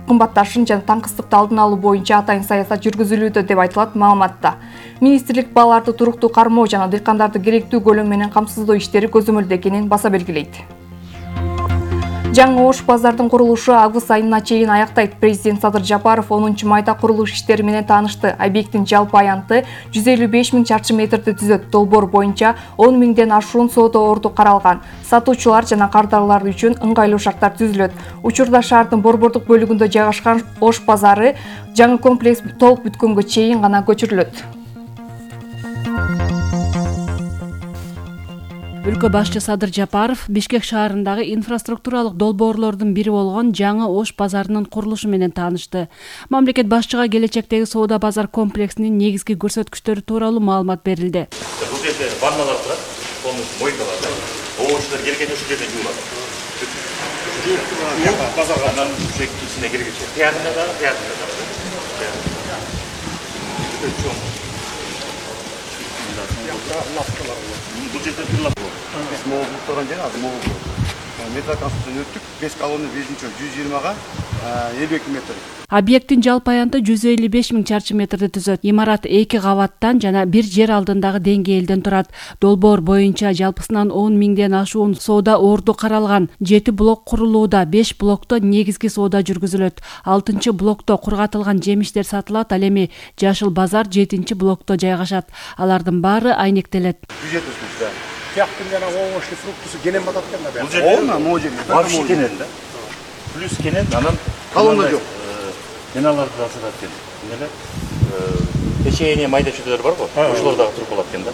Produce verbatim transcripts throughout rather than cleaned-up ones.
кымбатташын жана таңкыстыкты алдын алуу боюнча атайын саясат жүргүзүлүүдө деп айтылат маалыматта. Министрлик бааларды туруктуу кармоо жана дыйкандарды керектүү көлөм менен камсыздоо иштери көзөмөлдө экенин баса белгилейт. Жаңы Ош базардын курулушу август айына чейин аяктайт. Президент Садыр Жапаров онунчу майда курулуш иштери менен таанышты. Объекттин жалпы аянты жүз элүү беш миң чарчы метрди түзөт. Долбоор боюнча он миңден ашуун соода орду каралган. Сатуучулар жана кардарлар үчүн ыңгайлуу шарттар түзүлөт. Учурда шаардын борбордук бөлүгүндө жайгашкан Ош базары жаңы комплекс толук бүткөнгө чейин гана көчүрүлөт. Өлкө башчы Садыр Жапаров Бишкек шаарындагы инфраструктуралык долбоорлордун бири болгон жаңы Ош базарынын курулушу менен таанышты. Мамлекет башчыга келечектеги соода базар комплексинин негизги көрсөткүчтөрү тууралуу маалымат берилди. Бул жерде ванналар турат, полностью мойкалар. Оочулар келгенде ушул жерден жуулат. Базарга анан ичине киргиче. Тиягында да, тиягында да. Бул жерде тырлап биз могул турган жер азыр могул. Метроконструкцияны өттүк, беш колонна бешинчи жүз жыйырмага элүү эки метр. Объекттин жалпы аянты жүз элүү беш миң чарчы метрди түзөт. Имарат эки кабаттан жана бир жер алдындагы деңгээлден турат. Долбоор боюнча жалпысынан он миңден ашуун соода орду каралган. жети блок курулууда, беш блокто негизги соода жүргүзүлөт. алтынчы блокто кургатылган жемиштер сатылат, ал эми Жашыл базар жетинчи блокто жайгашат. Алардын баары айнектелет. Бюджет өсмөктө. Тияктын жана овощный фруктусу кенен батат экен да. Бул жерде могу жерде вообще кенен да. Плюс кенен, анан колонна жок. Миналарды да сатат экен. Эмне печенье майда чөйдөлөр барго, ошолор дагы туруп калат экен да.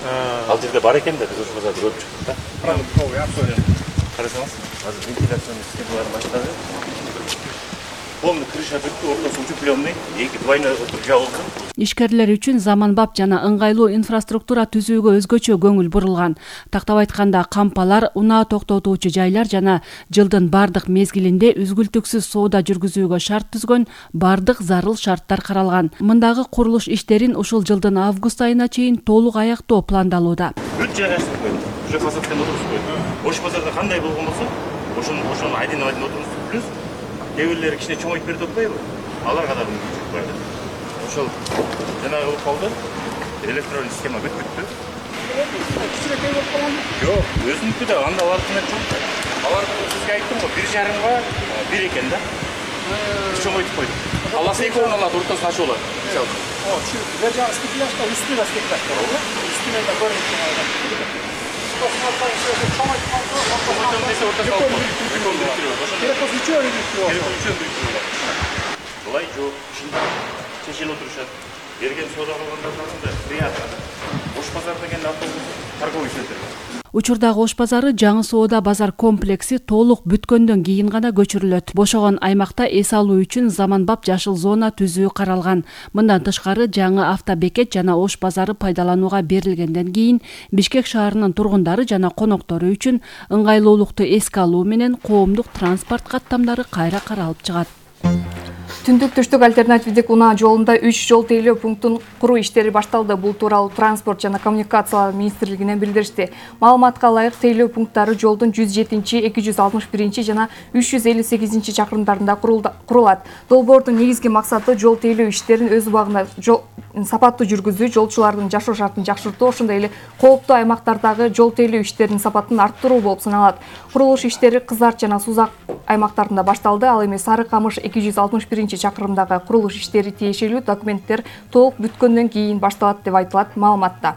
Ал жерде бар экен да, биз ошол базарды көрүп чыктык да. Карасаңыз, азыр вентиляционный системалар баштады. Полный крыша бүттү, ортосу утеплённый, эки двойной отур жабылды. Ишкерлер үчүн заманбап жана ыңгайлуу инфраструктура түзүүгө өзгөчө көңүл бурулган. Тактап айтканда, кампалар, унаа токтотуучу жайлар жана жылдын бардык мезгилинде үзгүлтүксүз соода жүргүзүүгө шарт түзгөн бардык зарыл шарттар каралган. Мындагы курулуш иштерин ушул жылдын август айына чейин толук аяктоо пландалууда. Бүт жайгаштырып койду. Уже фасадтан отурузуп койду. Ош базарда кандай болгон болсо, ошону ошону айдын айдын отурузуп, плюс дебелери кичине чоңойтуп берип атпайбы? Аларга да мүмкүнчүлүк бар. Ошол жанагы болуп калды. Электронный система бүт бүттү. Жок, өзүнүкү да анда алардын чоң. Аларды сизге айттым го, бир жарымга бир экен да. Чоңойтуп койдук. Аласы эки орун алат, ортосун ачып алат. О, чү, бер жагы стеклашка, үстүнө стеклашка. Үстүнө да көрүнүп Булай жок, чечилип отурушат. Берген соода калгандардын да приятно. Ош базар деген автобус торговый центр. Учурдагы Ош базары жаңы соода базар комплекси толук бүткөндөн кийин гана көчүрүлөт. Бошогон аймакта эс алуу үчүн заманбап жашыл зона түзүү каралган. Мындан тышкары жаңы автобекет жана Ош базары пайдаланууга берилгенден кийин Бишкек шаарынын тургундары жана коноктору үчүн ыңгайлуулукту эске алуу менен коомдук транспорт каттамдары кайра каралып чыгат. Түндүк түштүк альтернативдик унаа жолунда үч жол тейлөө пунктун куруу иштери башталды. Бул тууралуу Транспорт жана коммуникациялар министрлигинен билдиришти. Маалыматка ылайык, тейлөө пункттары жолдун жүз жетинчи, эки жүз алтымыш биринчи жана үч жүз элүү сегизинчи чакырымдарында курулат. Долбоордун негизги максаты жол тейлөө иштерин өз убагында сапаттуу жүргүзүү, жолчулардын жашоо шартын жакшыртуу, ошондой эле кооптуу аймактардагы жол тейлөө иштеринин сапатын арттыруу болуп саналат. Курулуш иштери Кызарт жана Сузак аймактарында башталды. Ал эми Сары Камыш эки жүз алтымыш биринчи чакырымдагы курулуш иштери тиешелүү документтер толук бүткөндөн кийин башталат деп айтылат маалыматта.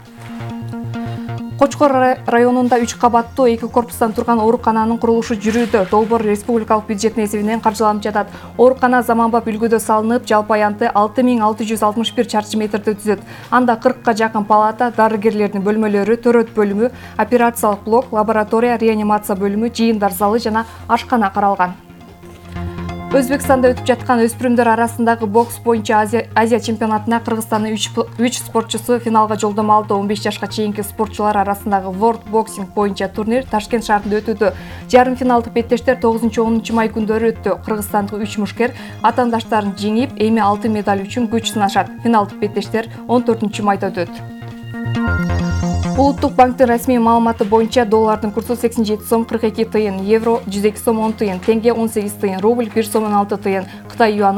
Кочкор районунда үч кабаттуу эки корпустан турган оорукананын курулушу жүрүүдө. Долбоор республикалык бюджеттин эсебинен каржыланып жатат. Оорукана заманбап үлгүдө салынып, жалпы аянты алты миң алты жүз алтымыш бир чарчы метрди түзөт. Анда кыркка жакын палата, дарыгерлердин бөлмөлөрү, төрөт бөлүмү, операциялык блок, лаборатория, реанимация бөлүмү, жыйындар залы жана ашкана каралган. Өзбекстанда өтүп жаткан өспүрүмдөр арасындагы бокс боюнча Азия, Азия чемпионатына Кыргызстандын үч спортчусу финалга жолдомо алды. он беш жашка чейинки спортчулар арасындагы World Boxing боюнча турнир Ташкент шаарында өтүүдө. Жарым финалдык беттештер тогузунчу онунчу май күндөрү өттү. Кыргызстандык үч мушкер атаандаштарын жеңип, эми алтын медаль үчүн күч сынашат. Финалдык беттештер он төртүнчү майда өтөт. Улуттук банктын расмий маалыматы боюнча доллардын курсу сексен жети сом кырк эки тыйын, евро жүз эки сом он тыйын, тенге он сегиз тыйын, рубль бир сом он алты тыйын, Кытай юаны